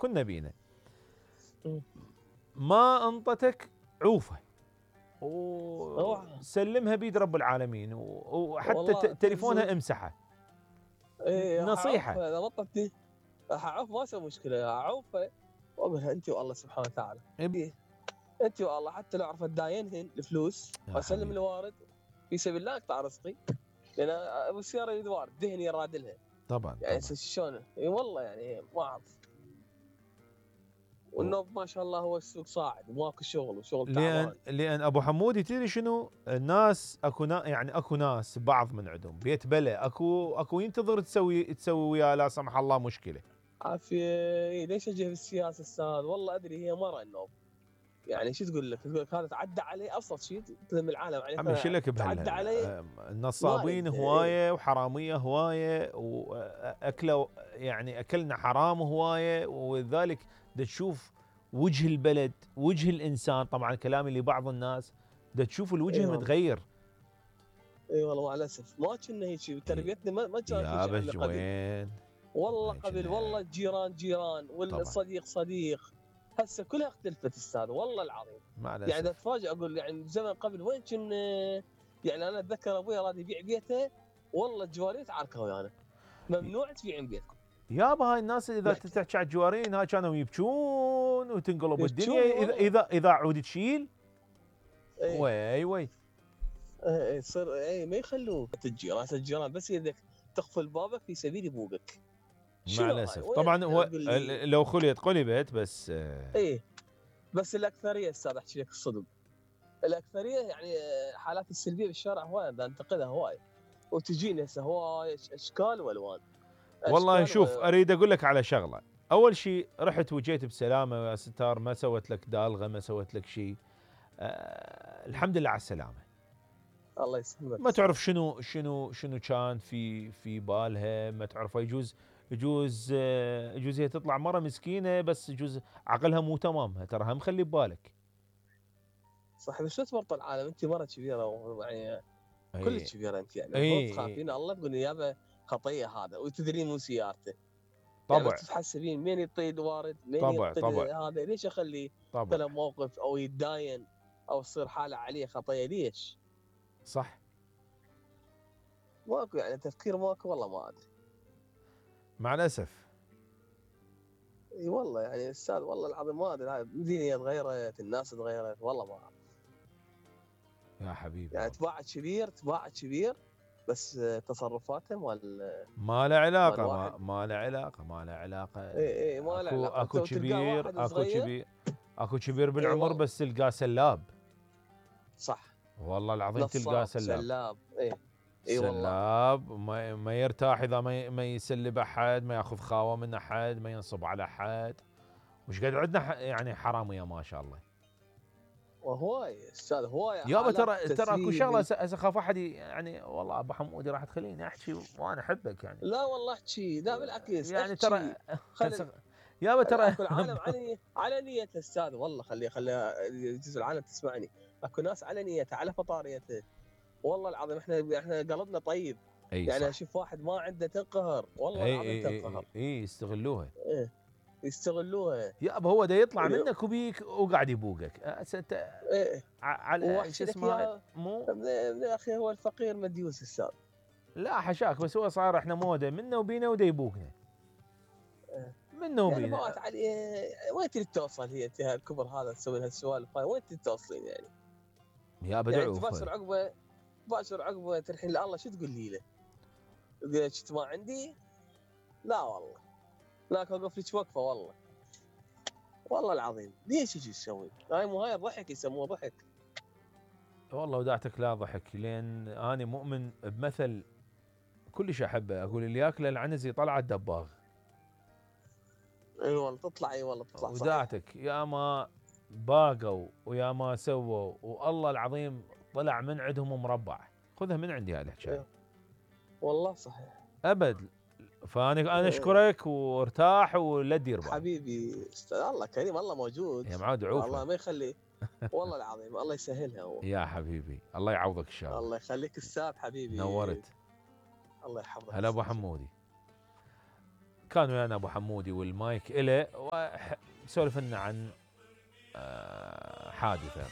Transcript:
كنا بينا ما انطتك عوفه وسلمها بيد رب العالمين وحتى تليفونها امسحه. نصيحه اذا بطتني اعوف ما اسوي مشكله، اعوفها واقولها انت والله سبحانه وتعالى انت والله، حتى لو عرفت داينهن الفلوس واسلم الوارد في سبيل الله اقطع رزقي، لان ابو السياره يريد وارد دهني يرادلها طبعا يعني شلون اي والله يعني ما اعرف. والنوب ما شاء الله هو السوق صاعد وماكو شغل وشغل تعبان. لان ابو حمودي تدري شنو الناس اكو ناس بعض من عندهم بيت بلا اكو ينتظر تسوي وياه لا سمح الله مشكله. عافيه ليش اجي في السياسه استاذ؟ والله ادري هي مره النوب يعني شو تقول لك هذا تعدى علي ابسط شيء تلم العالم عليه. عم يشلك تعدى علي النصابين هوايه وحراميه هوايه واكلوا يعني اكلنا حرام هوايه، ولذلك تشوف وجه البلد وجه الانسان، طبعا كلامي لبعض الناس تشوف الوجه متغير. اي والله مع الاسف ما كنا هيك تربيتنا ما كانت هيك وين والله قبل والله جيران والصديق صديق. هسه كلها اختلفت استاذ والله العظيم. يعني اتفاجئ اقول يعني زمن قبل وين كنا، يعني انا اتذكر ابوي راد يبيع بيته والله الجوارين تعاركوا ويانا ممنوع تبيعين بيتكم. يابا هاي الناس اذا تحكي على الجوارين هاي كانوا يبكون وتنقلب الدنيا اذا عود تشيل وي يصير ما يخلوك تجي راس الجيران بس اذا تقفل بابك في سبيل يبوقك. مع الاسف طبعا هو لو خليت قلبت بس بس الاكثريه استاذ احكي لك الصدق، الاكثريه يعني حالات السلبيه بالشارع هواي انتقدها هواي وتجيني هسه هواي اشكال والوان. والله شوف اريد اقول لك على شغله، اول شيء رحت وجيت بسلامه يا ستار، ما سوت لك دالغه ما سوت لك شيء. الحمد لله على السلامه. الله يسلمك. ما تعرف شنو كان في بالها، ما تعرف يجوز هي تطلع مره مسكينه بس يجوز عقلها مو تمام، تراها مخلي ببالك. صح بس لا تورط العالم، انت مره كبيره يعني كلش كبيره انت يعني المفروض تخافين الله تقولي يابا خطيه هذا وتدرين مو سيارته. طبعا يعني تتحسبين مين يطيد وارد مين يطيد هذا، ليش اخلي مثلا موقف او يتداين او تصير حاله عليه خطيه ليش؟ صح ماكو يعني تفكير ماكو والله ما ادري مع الاسف. اي والله يعني استاذ والله العظيم ما ادري الدنيا تغيرت الناس تغيرت والله ما اعرف يا حبيبي. يعني تباع كبير بس تصرفاته ما له علاقه ما له علاقه اي ما له علاقه. اكو كبير بالعمر بس تلقاه سلاب. صح والله العظيم تلقاه سلاب سلاب ما يرتاح اذا ما يسلب احد، ما ياخذ خاوه من احد، ما ينصب على احد. وش قد عندنا يعني حراميه ما شاء الله. وهواي استاذ هواي يابا ترى اكو شغله هسه اخاف احد يعني والله ابو حمودي راح تخليني احكي وانا احبك يعني. لا والله احكي لا بالعكس يعني ترى يابا ترى العالم على نيته استاذ والله خلي جزء العالم تسمعني. اكو ناس على نيته على فطاريته والله العظيم احنا قلبنا طيب. يعني اشوف واحد ما عنده تنقهر والله العظيم تنقهر. يستغلوها. يستغلوها يابا هو دا يطلع منك وبيك وقاعد يبوقك. انت على شو اسمه مو يا اخي هو الفقير مديوس استاذ. لا حشاك بس هو صار احنا موده منا وبينا ودا يبوقنا. منا وبينا وين تريد توصل هي الكبر هذا تسوي لها السوالف هاي وين تريد توصلين يعني؟ يابا يعني تباشر عقبه ترحين لله شو تقول لي له؟ تقول شفت ما عندي؟ لا والله لا اوقف لك وقفه والله العظيم ليش يجي يسوي؟ هاي ضحك يسموه ضحك. والله وداعتك لا ضحك لان انا مؤمن بمثل كلش احبه، اقول اللي ياكله العنز يطلع الدباغ. اي والله تطلع وداعتك يا ما باقوا ويا ما سووا والله العظيم طلع من عندهم مربع. خذها من عندي هاي الحكايه. والله صحيح ابد. فانا اشكرك وارتاح ولا تدير بالك حبيبي. الله كريم الله موجود يا معود عوفه الله ما يخلي والله العظيم الله يسهلها يا حبيبي الله يعوضك ان شاء الله. الله يخليك استاذ حبيبي نورت. الله يحفظك. هلا ابو حمودي. كان ويانا ابو حمودي والمايك إله وسولف لنا عن حادثه